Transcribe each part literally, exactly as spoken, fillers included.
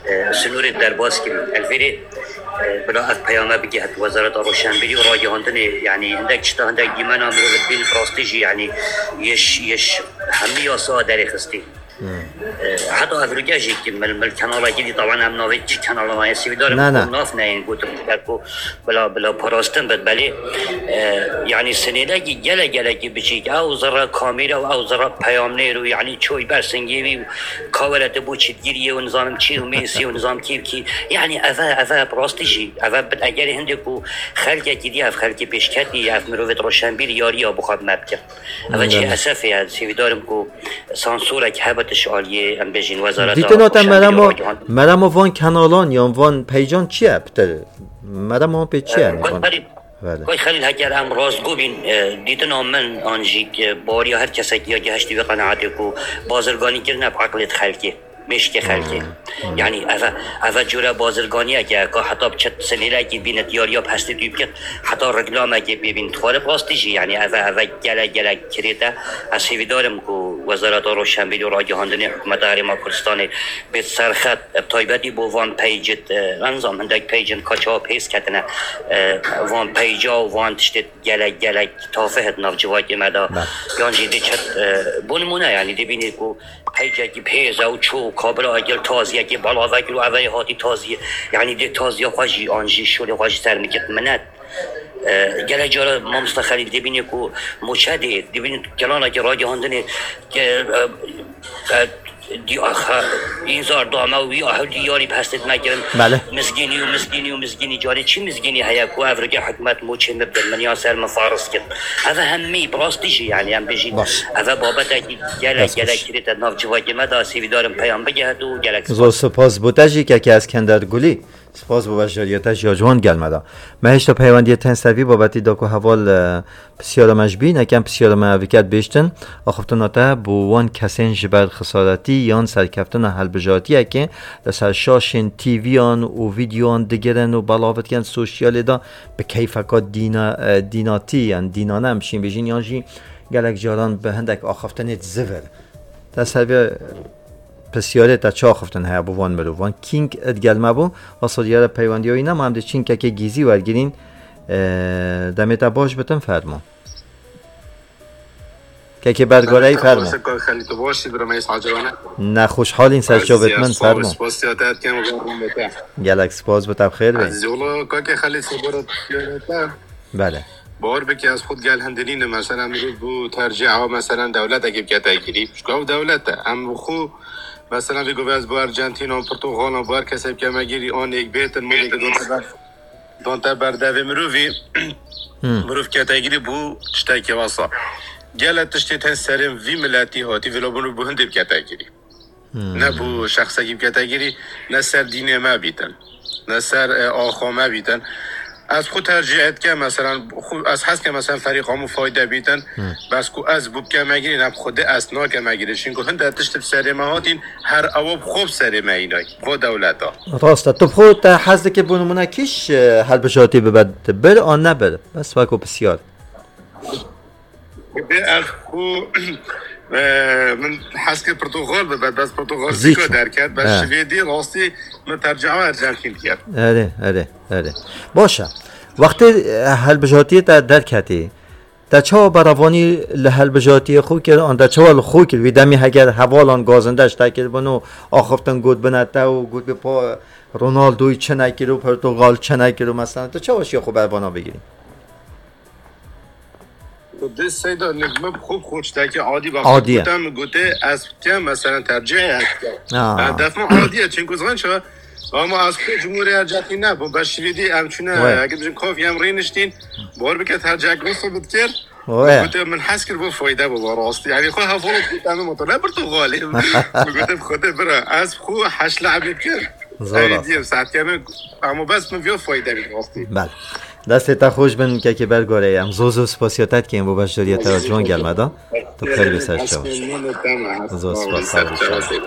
e, sînorê derbas kirin. Elvêrê, e, bila ev peyame bigihet Wezareta Roşenbîrî û Ragihandinê, yanî hindek tişta, hindek dîmena mirovê dibînin, rastî jî, yanî yeş, yeş hemî yasa derêxistî. E, heta evroke jî ki mil, mil kenalekî dî, taban em navê çi kenala me, ez hêvîdar im Ne, ne. ku nav neyên gotin, ku bila, bila parastin bit, belê, e, yanî sinêdekî gelek, gelekî biçîk, ew zirre kamîra û ew zirre peyamnêr û yanî çoy ber singê wî û ka were tu bû çitgiriyê û nizanim çî û mêsî û nizam kî û kî. Yanî eve, eve bi rastî jî, eve bi egerê hindê ku xelkekî dî, ev xelkê pêşketî, ev mirovê roşenbîr yariya bi xwe bi me bike. Eve Hmm, çi evet. esefê ye, ez hêvîdar im ku sansorek hebe tu ji aliyê, em bêjin, wezareta Dîtina te roşenbîrî û meremo, ragihandinê. meremo van kenalan yan van peycan çi ye? Pitir, meremo wan pê çi ye? Yani, Koy van, Xelîl, Belê. Koy Xelîl, heger em rastgo bîn, e, dîtina min an jî, e, baweriya her kesekî ya gehiştî wê qenaetê ku bazirganî kirine bi eqlê xelkê, mêşkê xelkê. Hmm. Yani eve, eve cure bazirganiyeke ka heta bi çet sinêlekî bîne diyariya bi hestê dû bikir, heta reklamekê pê bîn. Dixware bi rastî jî, yani eve, eve gelek, gelek kirêt e. Ez hêvîdar im ku Wezareta Roşenbîrî û Ragihandinê Hikûmeta Herêma Kurdistanê bêt serxet, bi taybetî bo van peycit, e, nizam hindek peycin ka çawa pês ketine, e, van peyca û van tiştê gelek, gelek tafih di nav civakê me de. Bel. Yan jî diçet, e, bo nimûne, yani dibînî ku peycekî pêz e û çû û kabila gel taziyekê belav kir û eve hatî taziyê. Yani dê taziya xwe jî an jî şolê xwe jî ser miket minet. E, gelek cara mamosta Xelîl dibînî ku moçe dê, dibînî kelanekî ragihandinê ke, e, e, di-, axa, înzar da me û wî ahew diyarî bi hestê me kirin. Bele. Mizgînî û mizgînî û mizgînî. Carê çi mizgînî heye ku ev rike hikûmet moçê min bidin, min ya ser min fariz kir. Eve hemî bi rastî jî, yani em bêjîn, Baş. eve babetekî gelek, Dest gelek xweş. kirêt e nav civakê me de, ez hêvîdar im peyam bigihet û gelek Zor spas. spas bo te jî, kekê Eskender Gulî. Spas bo beşdariyê te jî ya ciwan gel me de. Me hêşta peywendiyê tên ser vî babetî da ku heval, e, pisyara me ji bîn, ekem pisyara me ev diket bêştin. Axiftina te bo wan kesên ji ber xisaretî yan serkeftina helbijartiyekê li ser şaşên T V'yan û vîdyoyan digirin û belav dikin sosyalê de bi keyfeka dîna-, e, dînatî, yan dînane em şîn bêjin, yan jî gelek caran bi hindek axiftinê zivir. Te ser vê pisyarê te çi axiftin heye bo van mirovan? Kîng digel me bû, wesa diyar e peywendiya wî nema, em dê çînkekê gîzî wergirîn. E, demê te baş bitin, fermo. Kekê Bergoreyî, fermo. Kaka Xelî, tu baş î, bira me îsal cevane. Nexweşhalîn ser çavêt min, fermo. Spas ya te etken û bernameya te. Gelek spas, bi te bi xêr be. Ezîz, wala, kaka Xelî, sebora pisyarê te. Bele. Bawer bike, ez xwe digel hindinînim, mesela mirov bû tercîha, mesela dewletekê bikete kirî. Çunka ew dewlet e. Em xwe, mesela vê govê ez bû Arjantina, Portugalan, bû her kesê bikeme girî, anêk bêtin, mûnêk don te ber, don te ber devê mirovî. Hmm. Mirov kete girî bû tiştekê wesa. Gelek tiştê tên serê vî miletî hatî, vêla bû hindê bikete girî. Hmm. Ne bû şexsekî bikete girî, ne ser dînê me bîtin, ne ser, e, axa me bîtin. Ez xwe tercîh etke, meselan, xwe, ez hez ke, meselan, ferîqa min fayde bîtin, Hmm. bes ku ez bû bikeme girî, ne bi Xwedê ez nakeme girî. Çunku hinde tişt bi serê me hatîn, her ewa bi xwe bi serê me îna, bi xwe dewleta. Rast e. Tu bi xwe te hez dikî, bo nimûne, kîş, e, helbijartî bibe, bir an nebir? Bes weko pisyar. Bi ez xwe, e, min hez kir Portugal bibe, bes Portugal Zî zîka çû. derket, bes He. Şivêdî rastî min tercîha Arjantin kir. Erê, erê, erê. Baş e. Wextê, e, helbijartiyê te derketî, te çawa berevanî li helbijartiyê xwe kir, an te çawa li xwe kir? Wî demî heger hevalan gazinde ji te kiribin û axiftin gotbine te û gotbî pa Ronaldoyî çi nekir û Portugal çi nekir û, mesela, tu çawa şiya xwe bervana bigirî? Dê Seyda, ne, me bi xwe, bi xwe tiştekî adî be. Adî ye. Gote, min gote, ez dikem, mesela, tercîhê ez dikem. Ha. E, def min adî ye, çunku zan çi, ama ez xwe Cumhuriyê Arjantin nebûm, bes Şivêdî em çûne, Wê. Eger bijim kafî em rêniştîn, bawer bike tercihek wisa bidikir. Wê. Gote, min hez kir bo fayde bibe rastî. Yani xwe hevalek gote, em motor ne Portugalê. Min gote, bi Xwedê bira, ez xwe heşt lehbê kir. Zor Ey, rast. Diyem, saet keme, ama bes min viya fayde bî rastî. Bel. Destê te xweş bin, kekê Bergoreyî. Em zor zor spasiya te dikin bo beşdariya te ya ciwan gel me da. Tu xêr bê ser çav. Zor spas, sağ ol, sağ ol.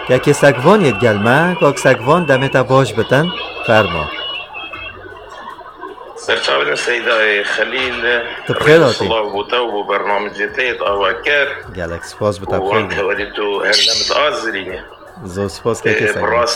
Kekê Sekvan yê gel me, kak Sekvan, demê te baş bitin. Fermo. Serçavên Seydayê Xelîl, Tu bi xêr hatî. Silav bo te û bo bernamecê te yê dawa kir. Gelek spas, bi te bi xêr be. Wan tewerî tu her ne mit azirîne. Zor spas, kekê Sekvan.